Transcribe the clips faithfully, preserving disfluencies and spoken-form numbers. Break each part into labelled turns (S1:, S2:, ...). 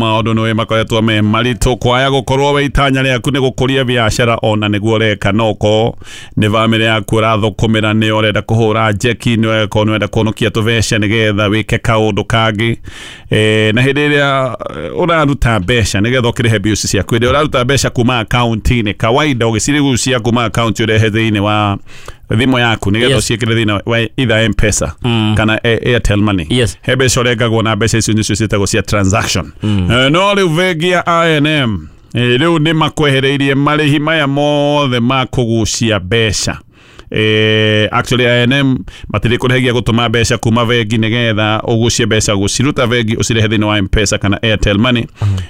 S1: Maũndũ nĩ makoretwo me maritũ kwaya gũkorwo we itanya rĩaku nĩ gũkũria biacara ona nĩguo ũreka no ũkorwo nĩ bamĩrĩ yaku ũrathũkũmĩra nĩ ũrenda kũhũra njeki nĩ ũkorwo nĩ ũrenda kũhonokia tũbeca nĩgetha wĩke kaũndũ kangĩ eh, na hĩndĩ ĩrĩa ũraruta mbeca nĩgetha ũkĩrĩhe bills ciaku hĩndĩ ĩrĩa ũraruta mbeca kuma akaunti-inĩ kawaida ũgĩcirigucia kuma akaunti ũrehe thĩinĩ wa thimũ yaku nĩgetha
S2: Yes.
S1: ũciĩkĩre thĩinĩ wa either M-Pesa
S2: Mm.
S1: kana A- Airtel Money.
S2: Yes.
S1: He mbeca ũrengagwo na mbeca icio nĩcio ciĩtagwo cia transaction.
S2: Mm.
S1: Eh, no rĩu bengi ya I N M eh, rĩu nĩ makwehereirie marĩhi maya mothe ma kũgucia mbeca. Eh, actually I N M matirĩ kũrĩhagia gũtũma mbeca kuma bengi nĩgetha ũgucie mbeca gũciruta bengi ũcirehe thĩinĩ wa M-Pesa kana Airtel Money.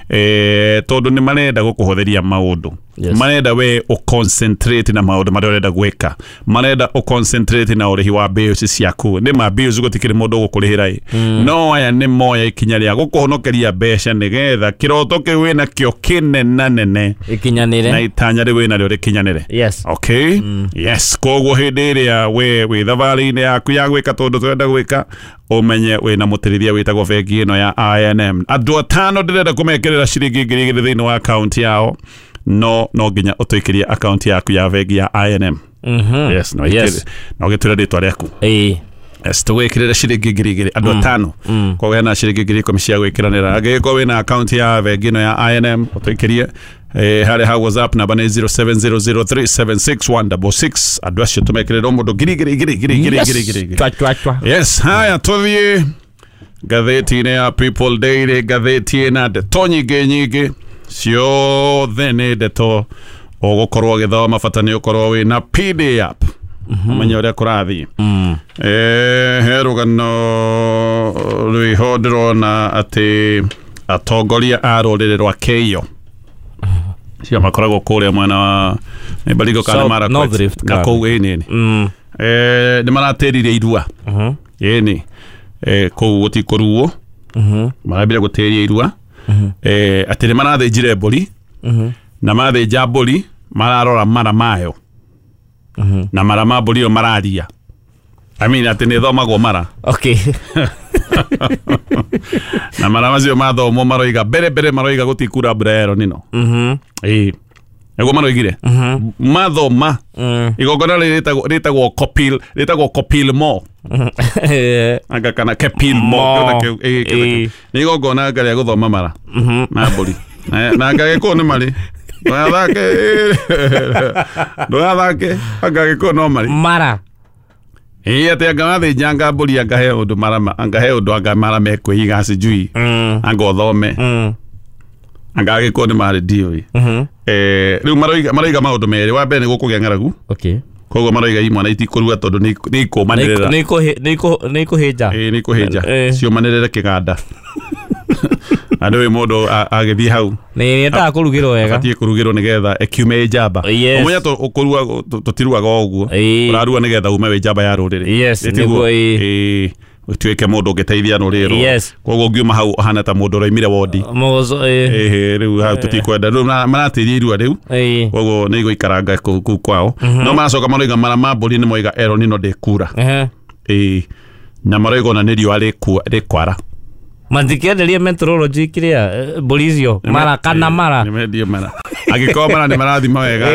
S1: Eh, tondũ nĩ marenda gũkũhũthĩria maũndũ.
S2: Yes.
S1: Marenda we ũconcentrate na maũndũ marĩa ũrenda gwĩka, marenda ũconcentrate na ũrĩhi wa bills ciaku. Nĩ ma bills gũtikĩrĩ mũndũ ũgũkũrĩhĩra ĩ, no aya nĩ moya ikinya rĩa gũkũhonokeria mbeca nĩgetha kĩroto kĩu wĩnakĩo kĩnenanene na
S2: Ikinyanire.
S1: itanya rĩu wĩnarĩo rĩkinyanĩre.
S2: Yes.
S1: Okay. Yes, koguo hĩndĩ ĩrĩa we wĩ thabarĩ-inĩ yaku ya gwĩka tondũ tũrenda gwĩka ũmenye wĩna mũtĩrĩria wĩtagwo bengi ĩno ya I N M. Andũ atano ndĩrenda kũmekĩrĩra ciringi ngiri igĩrĩ thĩinĩ wa akaunti yao, no no nginya ũtũikĩrie akaunti yaku ya bengi ya I N M.
S2: Mhm.
S1: Yes, no
S2: Yes.
S1: ĩkĩre no gĩtwĩre rĩtwa rĩaku.
S2: Ĩĩ.
S1: Yes, tũgwĩkĩrĩre ciringi ngiri igĩrĩ andũ atano.
S2: Mm.
S1: Koguo hena ciringi ngiri ikũmi cia gwĩkĩranĩra. Angĩgĩkorwo wĩna akaunti ya bengi ĩno ya I N M ũtũikĩrie eh, harĩa ha WhatsApp namba nĩ zero seven zero zero three seven six one double six. Andũ acio tũmekĩrĩre o mũndũ ngiri igĩrĩ igĩrĩ igĩrĩ igĩrĩ
S2: Yes.
S1: igĩrĩ igĩrĩ igĩrĩ.
S2: Chwa chwa chwa.
S1: Yes, haya tũthiĩ ngathĩti-inĩ ya People Daily, ngathĩti ĩna ndeto nyingĩ nyingĩ ciothe nĩ ndeto ũgũkorwo ũgĩthoma, bata nĩ ũkorwo wĩna P D app ũmenye ũrĩa kũrathiĩ.
S2: Mm.
S1: Eh, he rũgano rwĩho ndĩrona atĩ atongoria a rũrĩrĩ rwa Keiyo cio makoragwo kũrĩa mwena wa nĩ Baringo kana
S2: South-
S1: Marakwet.
S2: North Rift
S1: na
S2: kana.
S1: kũu ĩĩ nĩ.
S2: Mm.
S1: Eh, nĩ maratĩririe irua
S2: Mhm.
S1: ĩĩ eh, kũu gũtikũruo
S2: Mhm.
S1: marambire gũtĩria irua eh, atĩ nĩ marathĩnjire mbũri
S2: Mhm.
S1: na mathĩnja mbũri mararora mara mayo
S2: Mhm.
S1: na mara ma mbũri ĩyo mararia. I mean atĩ nĩ thomagwo mara.
S2: Okay.
S1: Na mara macio mathomwo maroiga mbere mbere maroiga gũtikura mbura ya El Nino.
S2: Mhm.
S1: Ĩĩ nĩguo maroigire.
S2: Mhm.
S1: Mathoma
S2: Mm.
S1: igongona rĩrĩ rĩtagwo rĩtagwo Kopil rĩtagwo Kopil Mo
S2: Eh,
S1: anga kana Kepil Mo
S2: Mo.
S1: kĩndũ kĩu, ĩĩ, kĩndũ kĩu.
S2: Ĩĩ.
S1: Nĩ igongona anga rĩa gũthoma mara
S2: Mhm.
S1: na mbũri na na anga gĩkũyũ nĩ marĩ ndũgathake ndũgathake anga gĩkũyũ no marĩ
S2: Mara.
S1: Ĩĩ atĩ anga mathĩnja anga mbũri anga he ũndũ mara ma- anga he ũndũ anga mara mekwĩiga sijui
S2: Mm.
S1: anga ũthome
S2: Mm.
S1: anga gĩkũyũ nĩ marĩ ndiũĩ.
S2: Mhm.
S1: Eh, rĩu maroiga maroiga maũndũ merĩ. Wa mbere nĩ gũkũgĩa ng'aragu
S2: Okay.
S1: koguo maroiga imwana itikũrua tondũ nĩ nĩ ikũmanĩrĩra.
S2: Nĩ ikũhĩ- nĩ ikũ- nĩ ikũhĩnja.
S1: Ĩĩ nĩ ikũhĩnja
S2: Eh.
S1: ciũmanĩrĩre kĩganda. Na ndũĩ mũndũ a- agĩthiĩ hau
S2: Nĩ nĩendaga kũrugĩrwo wega.
S1: abatiĩ kũrugĩrwo nĩgetha ĩkiume ĩ njamba.
S2: Yes.
S1: Ũmenye tũ- ũkũrua tũ- tũtiruaga o ũguo
S2: Ĩĩ.
S1: ũrarua nĩgetha ume wĩ njamba ya rũrĩrĩ.
S2: Yes,
S1: Ĩ tiguo?
S2: nĩguo, ĩĩ.
S1: Ĩĩ ũtuĩke mũndũ ũngĩteithia rũrĩrĩ rũrũ.
S2: Yes.
S1: Koguo ũngiuma hau ũhana ta mũndũ ũraimire wondi.
S2: Mũgũco ĩĩ.
S1: Ĩhĩ rĩu hau tũtikwenda rĩu mara- maratĩria irua rĩu
S2: Ĩĩ.
S1: koguo nĩ igũikaranga kũu kũu kwao. No maracoka maroiga mara ma mbũri nĩ moiga El Nino ndĩkura.
S2: Ehe.
S1: Ĩĩ na maroiga ona nĩ riũa rĩkua rĩkwara.
S2: Matikĩenderie meteorology kĩrĩa eh, mbũri icio mara kana mara.
S1: Nĩ mendio mara angĩkorwo mara nĩ marathima wega.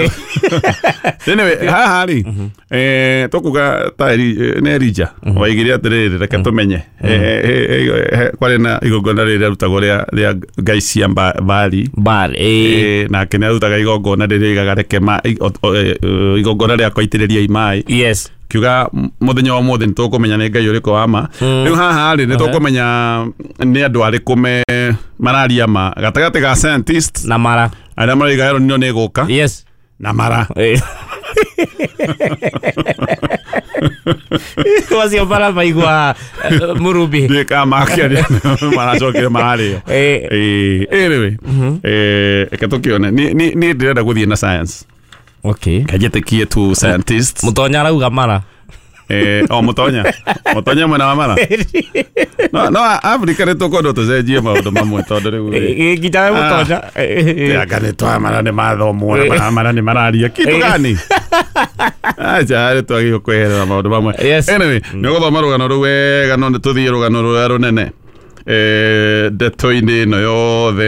S1: Anyway haha rĩ eh, tũkuga ta Eli- eh, nĩ Elijah waigire atĩrĩrĩ reke tũmenye. Eh, eh, eh, eh, kwarĩ na igongona rĩrĩa rĩarutagwo rĩa rĩa ngai cia mba- Baali.
S2: Bar ĩĩ.
S1: Eh, nake nĩ arutaga igongona rĩrĩa oigaga reke ma- i- o- o- eh, igongona rĩa kũitĩrĩria maĩ
S2: Yes.
S1: kiuga mũthenya wa ũmũthĩ nĩ tũkũmenya nĩ ngai ũrĩkũ wa ma. Rĩu haha rĩ nĩ tũkũmenya nĩ andũ arĩkũ me mararia ma gatagatĩ ga scientists
S2: Na mara.
S1: arĩa maroiga El Nino nĩ ĩgũka
S2: Yes.
S1: na mara.
S2: Ĩĩ. Macio mara maigua eh, mũrumbi.
S1: Ndiũĩ kana makĩaria maracokire mararĩo.
S2: Ĩĩ.
S1: Ĩĩ, anyway eh, reke tũkĩone. Niĩ niĩ- niĩ ndĩrenda gũthiĩ na science.
S2: Okay.
S1: Kanjĩtĩkie tu scientists.
S2: Mũtonya arauga mara.
S1: Eh, o mũtonya mũtonya mwena wa mara. No no Africa nĩ tũkwendwo tũcenjie maũndũ mamwe tondũ rĩu rĩ,
S2: Nginya we mũtonya.
S1: anga nĩ twa mara nĩ mathomwo na mara mara nĩ mararia kitu gani acha rĩ twagĩrĩirwo kweherera maũndũ mamwe.
S2: Yes.
S1: Anyway nĩ ũgũthoma rũgano rũu wega no nĩ tũthiĩ rũgano rũrĩa rũnene eh, ndeto-inĩ ĩno yothe.